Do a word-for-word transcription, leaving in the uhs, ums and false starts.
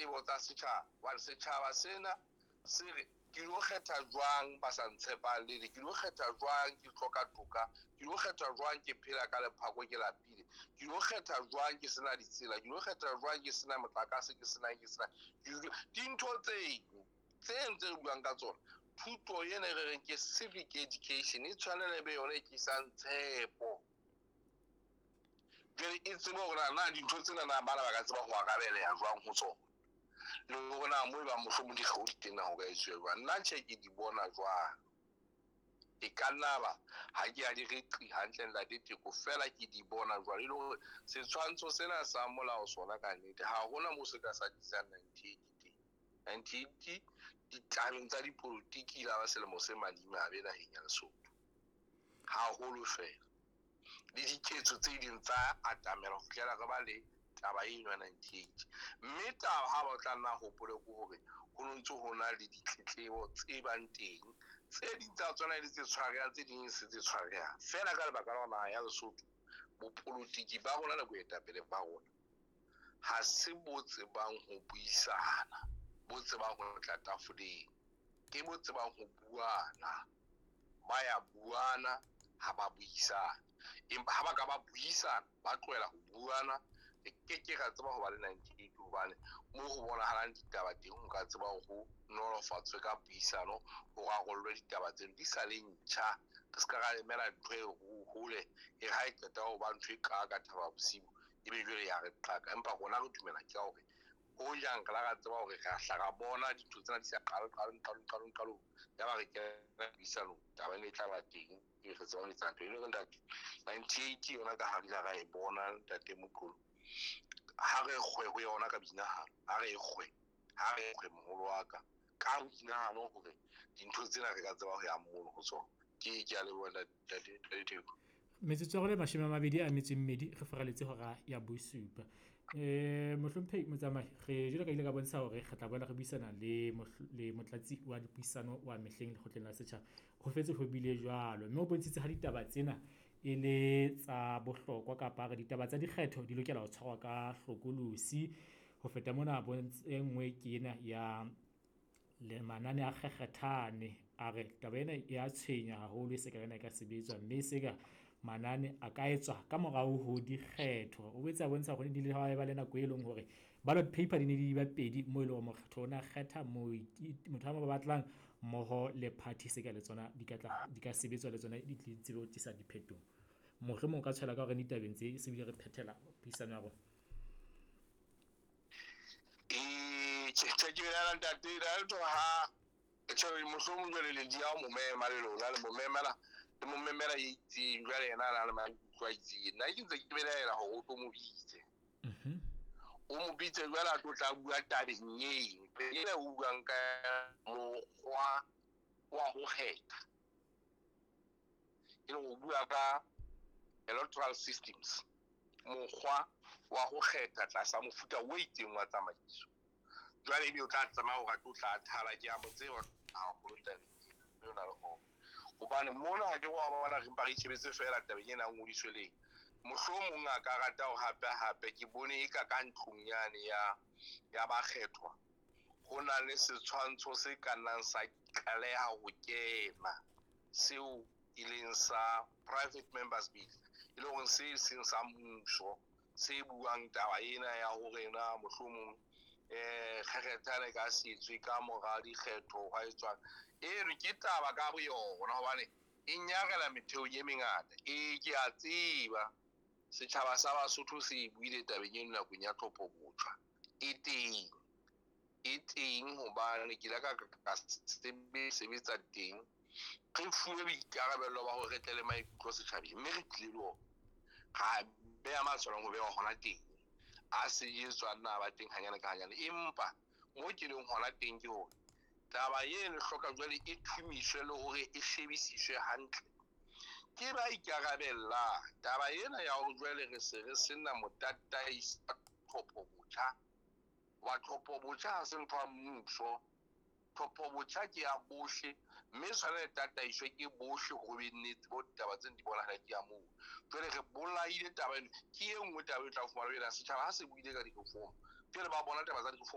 Ditletlebo tsa setjhaba, hobane setjhaba sena se re ke lo kgetha jwang ba sa ntshepalele, ke lo kgetha jwang ke hloka toka, ke lo kgetha jwang ke phela ka lephako ke lapile, ke lo kgetha jwang ke sena ditsela, ke lo kgetha jwang ke sena motlakase, ke sena ke sena dintho tseo tse ntse re buang ka tsona. Thuto ena e re reng ke civic education e tshwanela e be yona e tlisang tshepo. Jwale e tsebe hore na dintho tsena na bana ba ka tseba ho arabeleha jwang ho tsona, le hore na moo e bang mohlomong dikgeo di teng na ho ka etsuwa jwang. Nna tjhe ke di bona jwalo, e ka nna ba ha ke a di reqi hantle ntate Teko, fela ke di bona jwalo. E le hore setshwantsho sena sa molao sona ka nnete ha hona moo se ka sa tlisang ninety-eight teng. ninety-eight ditabeng tsa dipolotiki la ba selemo se madimabe naheng ya Lesotho haholo fela, le diketso tse ding tsa atamela ho fihlela re ba le taba eno ya ninety-eight. Mme taba ha ba tla nna hopole ke hore ho no ntso ho na le ditletlebo tse bang teng, tse ding tsa tsona e le tse tshwarehang, tse ding e se tse tshwarehang fela ka lebaka la naha ya Lesotho. Bopolotiki ba rona le boetapele ba rona ha se bo tsebang ho buisana, bo tsebang ho tla tafoleng, ke bo tsebang ho buana. Ba ya buana ha ba buisana, empa ha ba ka ba buisana ba tlohela ho buana, re ke ke ra tseba ho ba le ninety-eight, hobane moo ho bonahalang ditaba teng ho ka tseba hore ho nolofatswe ka puisano, ho rarollwe ditaba tseno di sa le ntjha. Re se ka ra emela ntho e hole e ha e qeta ho ba ntho e ka ka Thaba Bosiu ebe jwale ya re qaka. Empa rona re dumela ke hore ho jang re la ra tseba hore re hla ra bona dintho tsena di sa qale, qalong, qalong, qalong, qalong, ya ba re kena puisanong, taba ena e tla ba teng, e re tseba ho etsa ntho e le hore ntate ninety-eight yona ka ha re ile ra e bona ntate Moqolo, ha re kgwe ho yona ka boinahano, ha re kgwe, ha re kgwe moholo wa ka ka boinahano hore dintho tsena re ka tseba ho ya mono ho tsona. Ke ke a leboha ntate Teko. Metsotso ya rona e mashome a mabedi a metso e mmedi re faraletse hora ya bosupa. Eh mohlomphehi Motsamai, re jwalo ka ile ka bontsha hore re tla boela re buisana le le motlatsi wa dipuisano wa mehleng lekgotleng la setjhaba. Ho fetse ho bile jwalo, mme o bontshitse ha ditaba tsena e le tsa bohlokwa kapa re ditaba tsa dikgetho di lokela ho tshwarwa ka hlokolosi. Ho feta mona e nngwe ke ena ya le manane a kgekgethane, a re taba ena e a tshwenya haholo e se ka ena e ka sebetswa, mme se ka manane a ka etswa ka morao ho dikgetho. O boetse a bontsha hore di le ha ba le nako e leng hore ballot paper di ne di ba pedi moo e leng hore mokgatlo ona kgetha motho a mo batlang mmoho le party se ka le tsona di ka tla di ka sebetswa le tsona di tsebe ho tlisa diphetoho. Mohlomong o ka tshwela ka hore ditabeng tse se bile re phethela puisano ya rona. Eh, tjhe, ke bela ntate, la tlo ha tjhe mohlomong jwale le di ya mo mema le lona le mo memela, le mo memela e itseng jwale yena a na le maikutlo a itseng. Nna ke ntse ke belaela hore o tlo mo bitse. Mhm. O mo bitse jwale a tlo tla bua tabeng eo. Ena o buang ka mokgwa wa ho kgetha. E leng ho bua ka electoral systems, mokgwa wa ho kgetha tlasa mofuta o itseng wa tsamaiso. Jwale ebe o tla tsamaya hore a tlo tla thala, ke a mo tseba haholo tabeng ena, mme o na le hona. Hobane mona ha ke wa bona re mpa re itjhebetse feela tabeng ena ya ngodiso le eng. Mohlomong a ka rata hore hape hape ke bone e ka ka ntlong yane ya, ya bakgethwa ho na le setshwantsho se ka nnang sa qaleha ho kena seo e leng sa private members bill, e leng hore se seng sa mmuso se buang taba ena ya hore na mohlomong eh kgekgethane ka setswe ka mora dikgetho hwa etswang. Eno ke taba ka boyona hobane e nyarela metheong e mengata. E ke a tseba setjhaba sa Basotho se buile tabeng eno nakong ya tlhopho botjha. E teng, e teng hobane ke ile ka ka sebetsa teng. Re fuwe boikarabelo ba hore re tle le maikutlo setjhabeng, mme re tlile le ona. Ra beha matshwao ho beha hona teng. A se etswa nna ba teng hanyane ka hanyane, empa mo ke leng hona teng ke hore taba eno e hloka jwale e thumiswe le hore e shebisiswe hantle ke ba ikarabellang. Taba ena ya hore jwale re se re sena motataisi wa tlhopho botjha, wa tlhopho botjha ha se ntho ya mmuso. Tlhopho botjha ke ya bohle, mme tshwanela tataiswe ke bohle hore be nnete bo ditaba tseno di bonahala ke ya moo. Jwale re bolaile taba eno, ke e nngwe taba e tla fumana ena setjhaba ha se buile ka di-reform. Jwale ba bona taba tsa di-reform